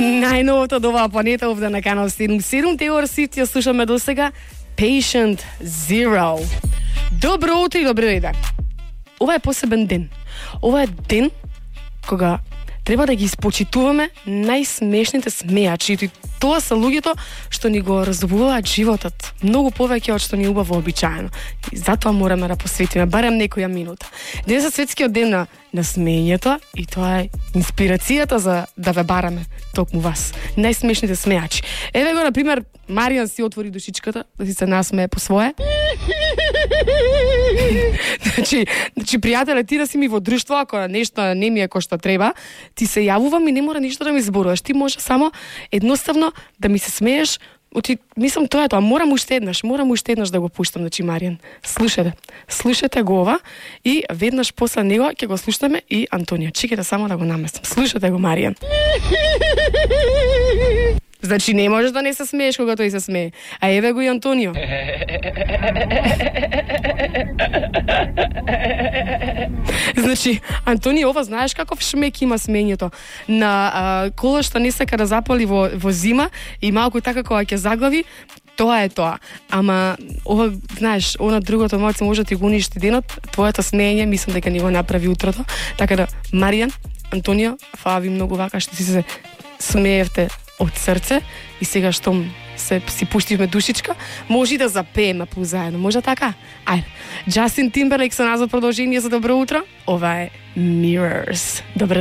Најновото од оваа планета овде на канал 77 Теор Сит ја слушаме до сега Patient Zero. Добро утро и добро ден. Ова е посебен ден. Ова е ден кога треба да ги испочитуваме најсмешните смејачи. И тоа се луѓето што ни го разубаваат животот многу повеќе од што ни убаво обичаено. И затоа мораме да посветиме барем некоја минута. Денес е светскиот ден на смеењето и тоа е инспирацијата за да ве бараме токму вас. Најсмешните смејачи. Еве го, на пример, Маријан си отвори душичката да си се насмее по свое. Значи, пријателе, ти да си ми во друштво, ако нешто не ми е кој што треба, ти се јавувам и не мора ништо да ми зборуваш. Ти може само едноставно да ми се смееш. Мислам, тоа е тоа. Морам уште еднаш да го пуштам, значи, Маријан. Слушате го ова и веднаш после него ќе го слушаме и Антонија. Чекайте само да го наместам. Слушате го, Маријан. Значи, не можеш да не се смееш кога тој се смее. А еве го и Антонио. Значи, Антонио, ова знаеш каков шмек има смењето на коло што не сака да запали во зима и малку така кога ќе заглави, тоа е тоа. Ама, ова, знаеш, она другото малце може да ти го уништи денот, твоето смење, мислам дека ни го направи утрото. Така да, Маријан, Антонио, фала ви многу вака што си се смеевте од срце и сега што си пуштивме душичка, може и да запееме позаедно. Може така? Ајде. Джастин Тимберлейк со нас за продолжение за добро утро. Ова е Mirrors. Добро